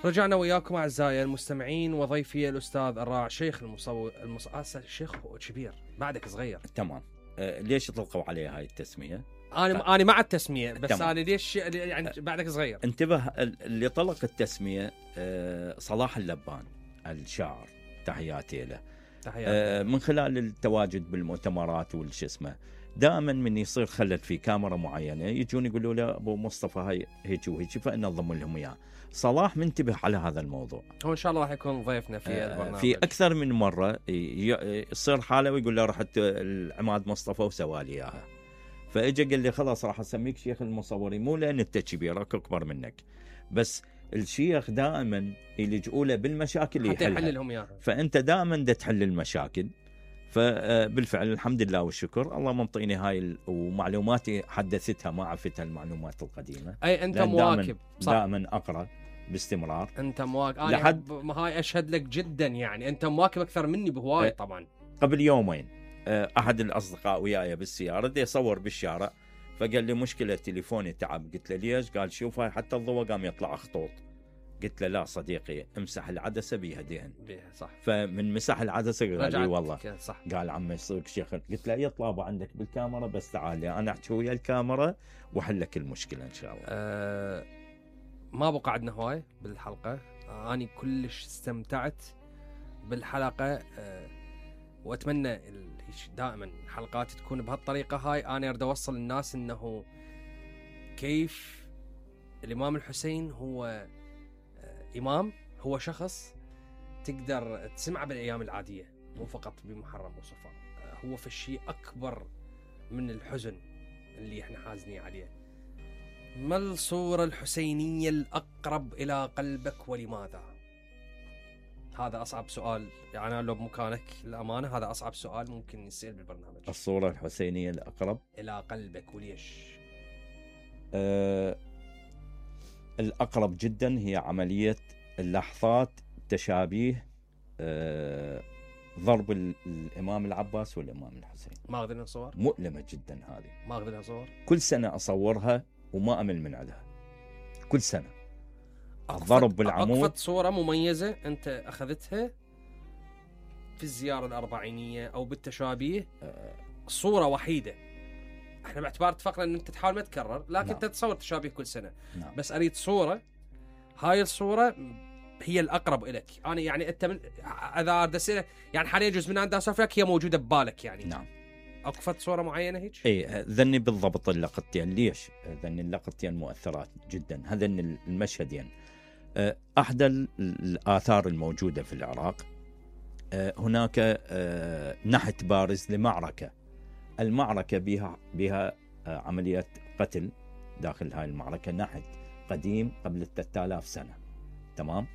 رجعنا وياكم أعزائي المستمعين وضيفي الأستاذ الراعي شيخ شيخ كبير بعدك صغير. تمام. ليش يطلقوا عليه هاي التسمية؟ أنا مع التسمية بس تمام. أنا ليش يعني بعدك صغير. انتبه، اللي طلق التسمية صلاح اللبان الشاعر، تحياتي له. من خلال التواجد بالمؤتمرات والش اسمه، دائما من يصير خلل في كاميرا معينة يجون يقولوا له أبو مصطفى هاي هيك وهيك، فننظم لهم إياه. صلاح منتبه على هذا الموضوع، هو إن شاء الله راح يكون ضيفنا في البرنامج. في أكثر من مرة يصير حاله ويقول له رحت العماد مصطفى وسوالي إياها، فإجا قال لي خلاص راح أسميك شيخ المصورين، مو لأن أنت كبير أكبر منك، بس الشيخ دائما يلجؤوا له بالمشاكل يحلها، لهم إياها. فأنت دائما دا تحل المشاكل. فبالفعل الحمد لله والشكر، الله منطيني هاي ومعلوماتي حدثتها، ما عرفتها المعلومات القديمة. أي أنت مواكب، دائما أقرأ باستمرار. أنت مواكب لحد هاي أشهد لك جدا، يعني أنت مواكب أكثر مني بهواي. طبعا قبل يومين أحد الأصدقاء وياي بالسيارة دي يصور بالشارع، فقال لي مشكلة تليفوني تعب. قلت له ليش؟ قال شوف هاي حتى الضوء قام يطلع خطوط. قلت له لا صديقي، امسح العدسة بيها دهن. صح. فمن مسح العدسة قال لي والله صح. قال عمي يصيرك شيخ. قلت له يطلع عندك بالكاميرا، بس تعال أنا أحكي ويا الكاميرا وحلك المشكلة إن شاء الله. ما بقى عندنا هواي بالحلقة. أنا كلش استمتعت بالحلقة، وأتمنى دائما حلقات تكون بهالطريقة هاي. أنا أريد أوصل للناس إنه كيف الإمام الحسين هو إمام، هو شخص تقدر تسمعه بالأيام العادية، مو فقط بمحرم وصفر. هو في الشيء أكبر من الحزن اللي إحنا حازنين عليه. ما الصورة الحسينية الأقرب إلى قلبك ولماذا؟ هذا أصعب سؤال، يعني أنا لو بمكانك الأمانة هذا أصعب سؤال ممكن يصير بالبرنامج. الصورة الحسينية الأقرب إلى قلبك وليش؟ الأقرب جدا هي عملية اللحظات تشابيه ضرب الإمام العباس والإمام الحسين. ما أقدر نصور؟ مؤلمة جدا هذه، ما أقدر أصور. كل سنة أصورها وما أمل من عندها، كل سنة الضرب بالعمود. أقفت صورة مميزة أنت أخذتها في الزيارة الأربعينية أو بالتشابيه، صورة وحيدة. احنا باعتبار اتفقنا ان انت تحاول ما تكرر، لكن انت تصور تشابيه كل سنة. بس اريد صورة، هاي الصورة هي الأقرب إليك. أنا يعني أنت من إذا أردت يعني حاليا جزء من عندها أسافرك هي موجودة ببالك يعني. نعم. أقفت صورة معينة هيك؟ إيه ذني بالضبط اللقطتين. ليش؟ ذني اللقطتين مؤثرات جدا، هذين المشهدين. أحد الآثار الموجودة في العراق، هناك نحت بارز لمعركة. المعركة بها عملية قتل داخل هاي المعركة، نحت قديم قبل 3000 سنة. تمام.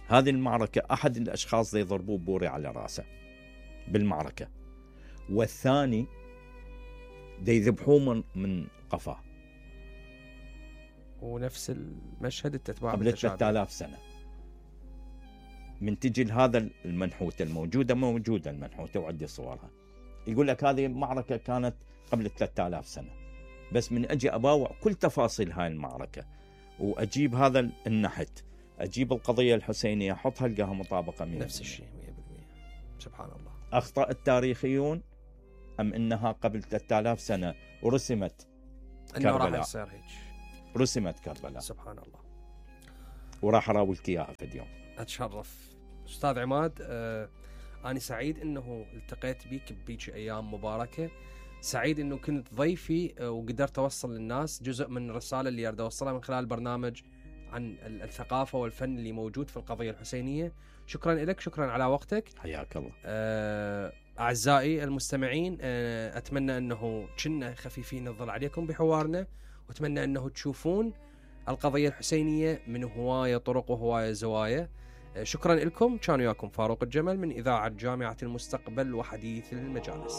هذه المعركة أحد الأشخاص يضربوه بوري على رأسه بالمعركة، والثاني يذبحوه من قفاه. ونفس المشهد التتبع قبل 3000 سنة. من تجي لهذا المنحوتة موجودة المنحوتة وعندي صورها، يقول لك هذه المعركة كانت قبل 3000 سنة، بس من أجي أباوع كل تفاصيل هاي المعركة وأجيب هذا النحت، أجيب القضية الحسينية أحطها ألقاها مطابقة 100%. نفس الشيء 100%. سبحان الله. أخطأ التاريخيون أم إنها قبل 3000 سنة ورسمت كربلاء؟ رسمت كربلاء. سبحان الله. وراح أراويك إياها في اليوم. أتشرف أستاذ عماد. أنا سعيد إنه التقيت بيك بيك أيام مباركة، سعيد إنه كنت ضيفي وقدرت أوصل للناس جزء من الرسالة اللي أريد أوصلها من خلال البرنامج عن الثقافة والفن اللي موجود في القضية الحسينية. شكرا لك، شكرا على وقتك. حياك الله. أعزائي المستمعين، أتمنى أنه كنا خفيفين الظل عليكم بحوارنا، وأتمنى أنه تشوفون القضية الحسينية من هواية طرق وهواية زوايا. شكرا لكم. كان وياكم فاروق الجمل من إذاعة جامعة المستقبل وحديث المجالس.